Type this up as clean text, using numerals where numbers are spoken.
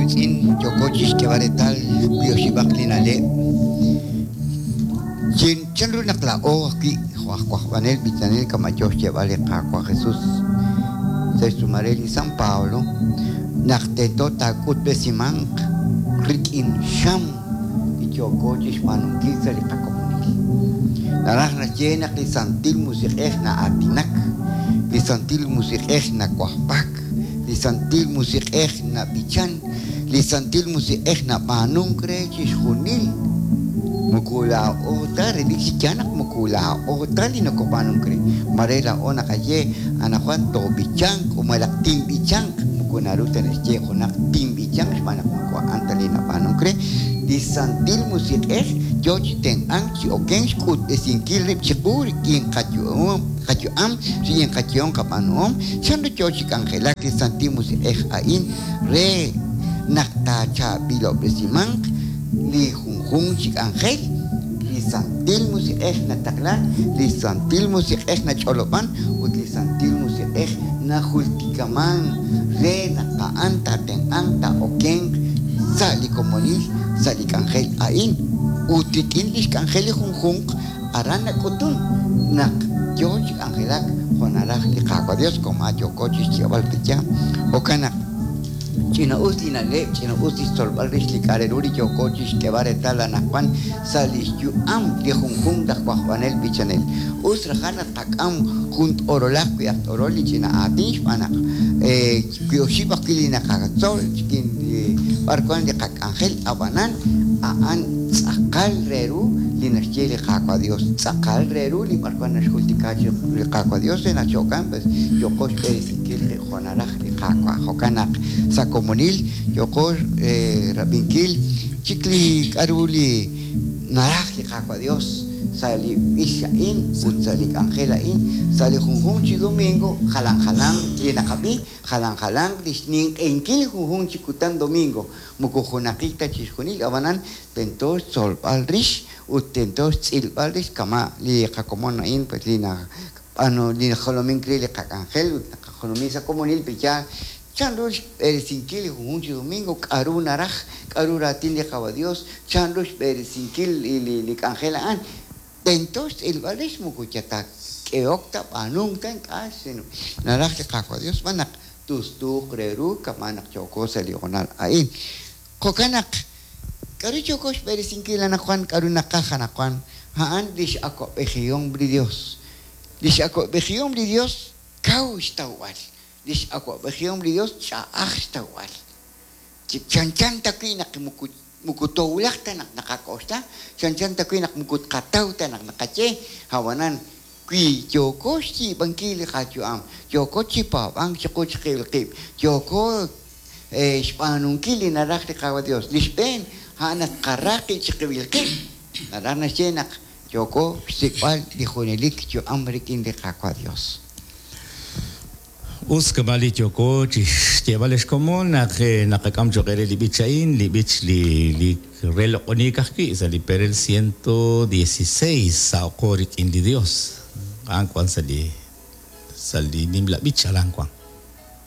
wiitz'in, yooko chixk'eeb'al reetal wi oxib'aq li na'leb'. Chan ru naq laa'o ajwi' jo' aj wajb'anel b'ichanel kama' yoo xyeeb'al li Qaawa' Jesus sa' xtz'uumal re li San Pablo naq tento taak'utb'esimanq rik'in xam li yooko chixb'aanunkil sa' li qakomonil. Naraj naxye naq li Santil Musiq'ej na'aatinak, li Santil Musiq'ej nawajb'ak, li Santil Musiq'ej nab'ichan, li Santil Musiq'ej nab'aanunk re chixjunil. Moko laa'o ta, relik chi yaal naq moko laa'o ta li nokob'aanunk re. Maare laa'o naqaye, Anaqwan toob'ichanq o malaj tinb'ichanq. Moko naru ta naxye junaq tinb'ichanq xb'aan naq moko a'an ta li nab'aanunk re. Li Santil Musiq'ej yoo chi tenq'ank chi okenk xk'utb'esinkil rib' chiqu rik'in qayu'am, rik'in qayehom qab'aanuhom. Chanru yoo chi k'anjelak li Santil Musiq'ej a'in re naq taachaab'ilob'resimanq li junjunq chi k'anjel? Li Santil Musiq'ej nataqlan, li Santil Musiq'ej nach'olob'an, ut li Santil Musiq'ej najultikaman re naq a'an taatenq'anq taa'okenq sa' li komonil sa' li k'anjel a'in. Ut rik'in lix k'anjel li junjunq aran nak'utun naq yoo chi k'anjelak jo' naraj li Qaawa' Dios, koma yooko chixyeeb'al qe yaal. Jo'kan naq. Ch'ina-us li na'leb', ch'ina-us li xtzolb'al rix li k'a' re ru li yooko chixk'eeb'al reetal anaqwan sa' lix yu'am li junjunq aj wajb'anel b'ichanel. Us rajal naq tqak'am jun t'orolaq wi' aj t'orol li ch'ina aatin xb'aan naq wi oxib' ajwi' li naqatzol rik'in li b'ar wan li qak'anjel ab'anan a'an tz'aqal re ru li naxye li Qaawa' Dios, tz'aqal re ru li b'ar wan naxjultika chiqu li Qaawa' Dios re naq chi jo'kan pues yooqo xb'eresinkil qib' jo' naraj li Qaawa'. Jo'kan naq sa' komonil yooqo rab'inkil chik li k'a'ru li naraj li Qaawa' Dios sa' li b'ich a'in ut sa' li k'anjel a'in. Sa' li junjunq chi domingo jalan jalanq li naqab'i, jalan jalanq li xninq'ehinkil li junjunq chi kutan domingo. Moko junaqik ta chixjunil, ab'anan tento xtzolb'al rix ut tento xtz'ilb'al rix kama' li qakomon a'in pues li B'aanu li najolomink re li qak'anjel ut naqajolomi sa' komonil pe yaal chanru xb'eresinkil li junjunq chi domingo, k'a'ru naraj, k'a'ru raatin li Qawa' Dios, chanru xb'eresinkil li k'anjel a'an. Tento xtz'ilb'al rix moko yal ta k'ehok ta, b'aanunk ta, ink'a' sino naraj li Qaawa' Dios xb'aan naq tustuuq re ru kama' naq yooko sa' li hoonal a'in. Jo'kan naq, k'a'ru yooko xb'eresinkil anaqwan, k'a'ru naqaj anaqwan, a'an lix awa'b'ejihom li Dios. Lix awa'b'ejihom li Dios kaw xtawb'al. Lix awa'b'ejihom li Dios ch'a'aj xtawb'al. Chanchan ta wi' naq moko moko toowulaq ta naq naqak'oxla, chanchan ta wi' naq moko tqataw ta naq naqaye, a'b'anan wi yooko xyiib'ankil li qayu'am, yooko chi paab'ank chiqu chiqib'il qib', yooko xb'aanunkil li naraj li Qaawa' Dios. Li xb'een, a'an naq tqara qib' chiqib'il qib'. Naraj naxye naq yooko xsik'b'al li junelik yu'am rik'in li Qaawa' Dios. Us kama' li yooko chi xyeeb'al ex komon naq naqak'am cho'q eere li b'ich a'in, li b'ich li li re loq'oniik ajwi' sa' li perel 116 Saho'qo rik'in li Dios. A'an wan sa' li sa' li nimla b'ich aran wan.